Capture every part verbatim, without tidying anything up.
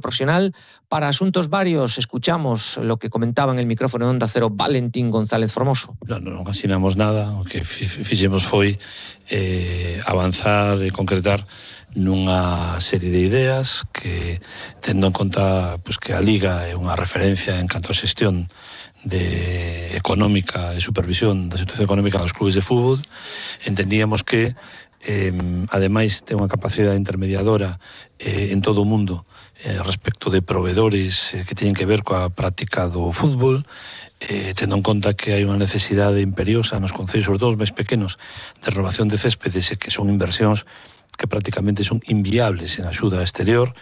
profesional. Para asuntos varios, escuchamos lo que comentaba en el micrófono de Onda Cero Valentín González Formoso. Non, non asinamos nada, o que fixemos foi eh, avanzar e concretar nunha serie de ideas que, tendo en conta pues, que a Liga é unha referencia en canto a xestión de económica e supervisión da situación económica dos clubes de fútbol, entendíamos que eh, ademais ten unha capacidade intermediadora eh, en todo o mundo eh, respecto de proveedores eh, que teñen que ver coa práctica do fútbol, eh, tendo en conta que hai unha necesidade imperiosa nos concellos, sobre todo os máis pequenos, de renovación de céspedes e que son inversións que prácticamente son inviables en axuda exterior,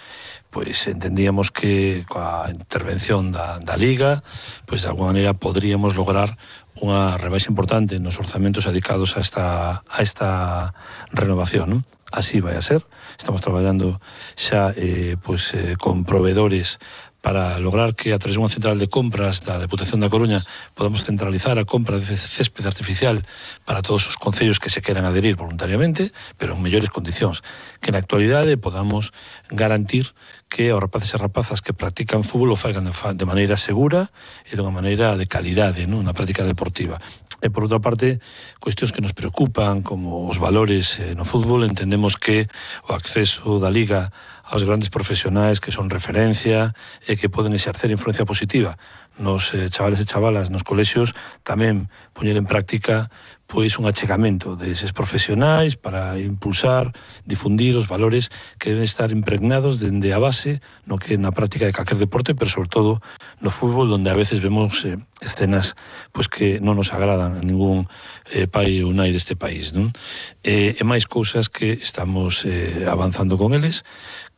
pois entendíamos que coa intervención da, da Liga, pois de alguma maneira poderíamos lograr unha rebaixa importante nos orzamentos dedicados a esta, a esta renovación, non? Así vai a ser. Estamos traballando xa eh, pois, eh, con proveedores para lograr que a través dunha central de compras da Deputación da Coruña podamos centralizar a compra de césped artificial para todos os concellos que se queran adherir voluntariamente, pero en mellores condicións, que na actualidade podamos garantir que os rapaces e rapazas que practican fútbol o faigan de maneira segura e de unha maneira de calidade, non? Na práctica deportiva. E, por outra parte, cuestións que nos preocupan, como os valores eh, no fútbol, entendemos que o acceso da Liga aos grandes profesionais que son referencia e que poden exercer influencia positiva nos eh, chavales e chavalas nos colexios, tamén poñer en práctica pois un achegamento deses profesionais para impulsar, difundir os valores que deben estar impregnados dende a base no que na práctica de calquer deporte, pero sobre todo no fútbol, onde a veces vemos eh, escenas pois que non nos agradan a ningún eh, pai ou nai deste país, non? E, e máis cousas que estamos eh, avanzando con eles,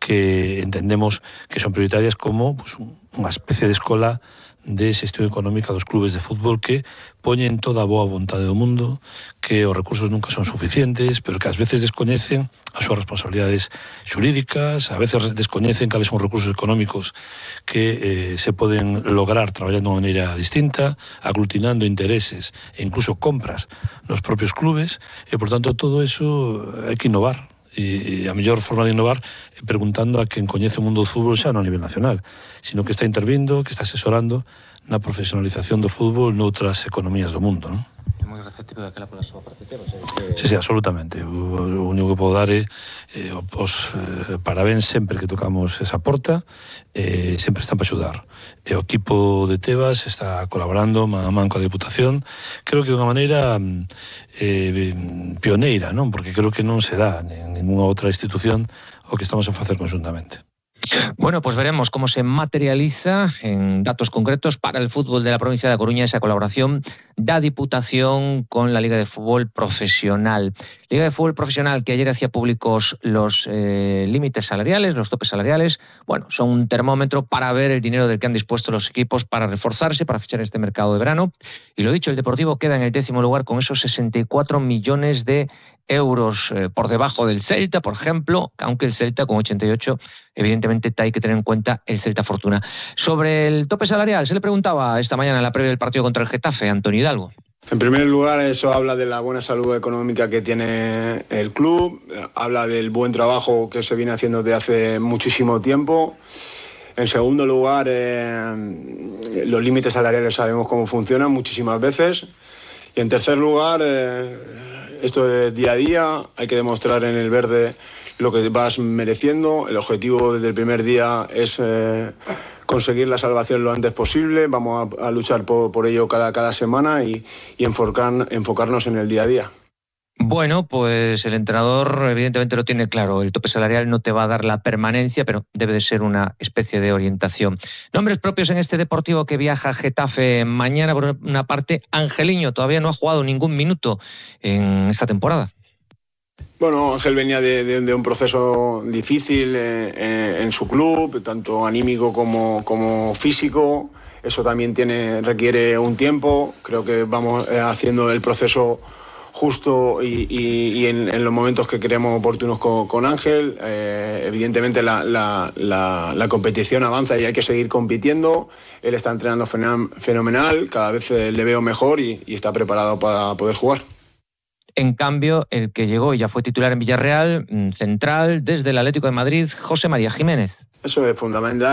que entendemos que son prioritarias, como pues, unha especie de escola de xestión económica dos clubes de fútbol que poñen toda a boa vontade do mundo, que os recursos nunca son suficientes, pero que ás veces descoñecen as súas responsabilidades xurídicas, a veces descoñecen cales son os recursos económicos que eh, se poden lograr traballando de unha maneira distinta, aglutinando intereses e incluso compras nos propios clubes, e por tanto todo eso hai que innovar. E a mellor forma de innovar é preguntando a quen coñece o mundo do fútbol xa non a nivel nacional, sino que está intervindo, que está asesorando na profesionalización do fútbol noutras economías do mundo, non? É moi receptivo daquela pola súa parte, Teo. Que... Sí, sí, absolutamente. O, o único que podo dar é eh, os eh, parabéns sempre que tocamos esa porta, eh, sempre están para axudar. E o equipo de Tebas está colaborando man a man coa Deputación, creo que de unha maneira eh, pioneira, non? Porque creo que non se dá en ninguna outra institución o que estamos a facer conjuntamente. Bueno, pues veremos cómo se materializa en datos concretos para el fútbol de la provincia de A Coruña esa colaboración da Diputación con la Liga de Fútbol Profesional. Liga de Fútbol Profesional que ayer hacía públicos los eh, límites salariales, los topes salariales. Bueno, son un termómetro para ver el dinero del que han dispuesto los equipos para reforzarse, para fichar este mercado de verano. Y lo dicho, el Deportivo queda en el décimo lugar con esos sesenta y cuatro millones de euros eh, por debajo del Celta, por ejemplo, aunque el Celta con ochenta y ocho, evidentemente hay que tener en cuenta el Celta Fortuna. Sobre el tope salarial, se le preguntaba esta mañana en la previa del partido contra el Getafe, Antonio Hidalgo. En primer lugar, eso habla de la buena salud económica que tiene el club, habla del buen trabajo que se viene haciendo desde hace muchísimo tiempo. En segundo lugar, eh, los límites salariales sabemos cómo funcionan muchísimas veces. Y en tercer lugar, eh, esto de día a día, hay que demostrar en el verde lo que vas mereciendo. El objetivo desde el primer día es eh, conseguir la salvación lo antes posible. Vamos a, a luchar por, por ello cada, cada semana y, y enfocar, enfocarnos en el día a día. Bueno, pues el entrenador evidentemente lo tiene claro. El tope salarial no te va a dar la permanencia, pero debe de ser una especie de orientación. Nombres propios en este Deportivo que viaja a Getafe mañana. Por una parte, Angeliño todavía no ha jugado ningún minuto en esta temporada. Bueno, Ángel venía de, de, de un proceso difícil eh, en su club, tanto anímico como, como físico. Eso también tiene, requiere un tiempo. Creo que vamos eh, haciendo el proceso justo y, y, y en, en los momentos que creemos oportunos con, con Ángel. Eh, evidentemente la, la, la, la competición avanza y hay que seguir compitiendo. Él está entrenando fenomenal, cada vez le veo mejor y, y está preparado para poder jugar. En cambio, el que llegó y ya fue titular en Villarreal, central, desde el Atlético de Madrid, José María Jiménez. Eso es fundamental.